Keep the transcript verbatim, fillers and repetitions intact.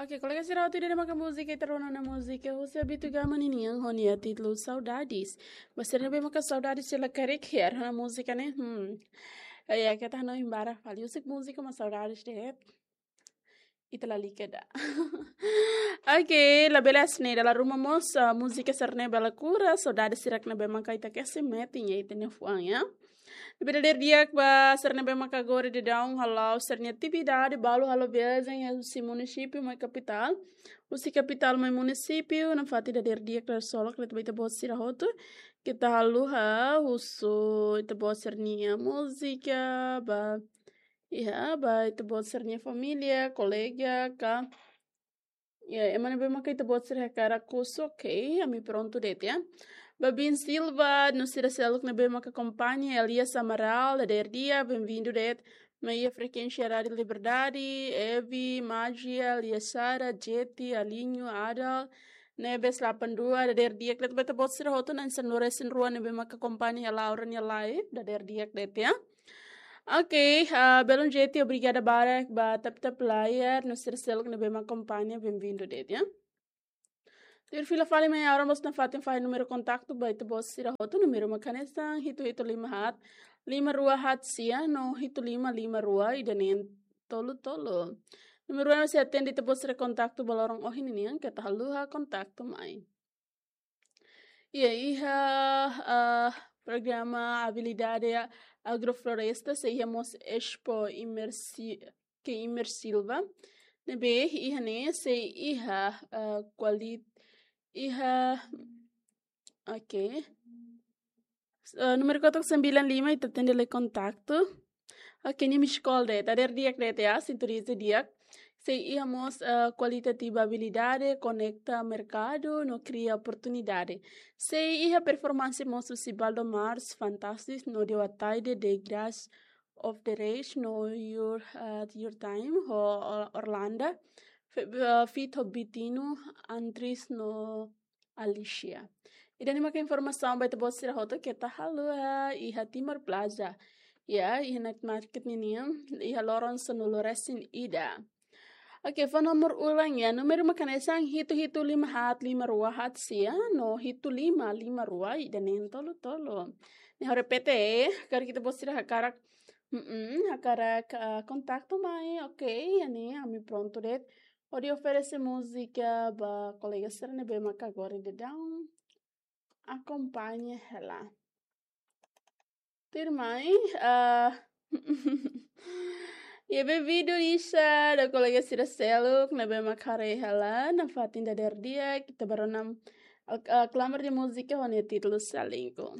Oke, kolega sira, atu ida-ne'e maka múzika ita rona ona, múzika husi Abito Gama ninian ho nia títulu Saudades. Ba sira ne'ebé maka saudades sira la karik, ya, rona múzika ne'e. Hmm. Ya, keta hanoin barak fali husik múzika, mas saudades de'it. Ita lalika ida. Oke, labele hanesan ne'e, dala ruma mós, ah, múzika sira-ne'e bele kura saudades sira ne'ebé maka ita kesi metin iha ita-nia fuan, ya. Ne'ebé dadeer di'ak ba sira ne'ebé maka agora daudaun hala'o sira-nia atividade, balu halo viajen iha husi munisípiu mai kapitál, husi kapitál mai munisípiu, nafatin dadeer di'ak, dadeer solok ba ita-boot sira hotu. Keta haluha husu ita-boot sira-nia múzika ba, ya, ba ita-boot sira-nia família, kolega ka, ya, ema ne'ebé maka ita-boot sira hakarak husu, oke, ami prontu de'it, ya. Ba Bin Silva, no sira seluk ne'ebé maka akompaña, Elias Amaral, dadeer di'ak, bem-vindo de'it mai iha frekuénsia Rádio Liberdade, Evi, Magia, Elias Sara, Jeti, Alinho, Adal, Nebes delapan dua, dadeer di'ak de'it ba ita-boot sira hotu, na'in sanulu-resin-rua ne'ebé maka akompaña iha Laura nia live, dadeer di'ak de'it, ya. Oke, ah, belun Jeti, obrigada barak ba tap-tap layar, no sira seluk ne'ebé maka akompaña, bem-vindo de'it, ya. Tuir fila fali mai agora mós nafatin fahe númeru kontaktu ba ita-boot sira hotu, númeru maka hanesan hitu hitu lima haat, lima rua haat sia, no hitu lima lima rua, ida neen tolu tolu. Númeru ne'e sei atende ita-boot sira kontaktu ba loron ohin ninian, keta haluha kontaktu mai. Ya, iha, ah, programa Abilidade Agrofloresta, sei iha mós Expo Imersi-, ke Imersilva. Ne'ebé iha ne'e sei iha, ah, kualit-, iha, oke. Eh, númeru kotuk sembilan lima, ita atende lai kontaktu. Oke, nia miss call de'it, dadeer di'ak de'it, ya, sintoniza di'ak. Sei iha mós, eh, kualitativa abilidade, konekta merkadu, no kria oportunidade. Sei iha performance mós husi Baldo Mars, Fantastis, no Dewa Taide, The Grass of the Race, no Your, eh, Your Time, ho Or-, Orlanda, Fe-, eh, feat ho Bitinu, Antris, no Alicia. Ida-ne'e maka informasaun ba ita-boot sira hotu, keta haluha iha Timor Plaza. Ya, iha night market ninian, iha loron sanulu-resin-ida. Oke, fó nomor ulang ya, númeru maka hanesan hitu hitu lima haat lima rua haat sia, no hitu lima lima rua, ida neen tolu tolu. Ne'e ha'u repete, karik ita-boot sira hakarak, mm, hakarak, ah, kontaktu mai, oke, iha ne'e, ami prontu de'it hodi oferese múzika ba kolega sira ne'ebé maka agora daudaun akompaña hela. Tuirmai, ah, iha be vídeo ida ba kolega sira seluk ne'ebé maka haree hela nafatin dadeer di'ak, ita bá rona, ah, klamar de múzika ho nia títulu Salingku.